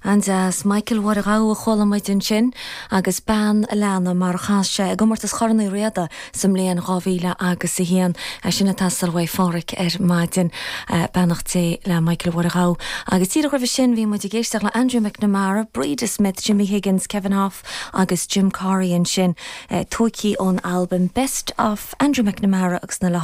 An-deas. Michael Mháire Ghabha a chuala muid ansin agus Bean a' Leanna mar a chas sé i gcomórtas Chorn Uí Riada sa mbliain 2000 agus 1. É sin ag teastáil uaidh Pháraic ar maidin. Beannacht Dé le Michael Mháire Ghabha. Agus díreach roimhe sin bhí muid ag éisteacht le Andrew McNamara, Breda Smith, Jimmy Higgins, Kevin Hough agus Jim Corry ansin, tóigthe ón albam Best of Andrew McNamara agus na.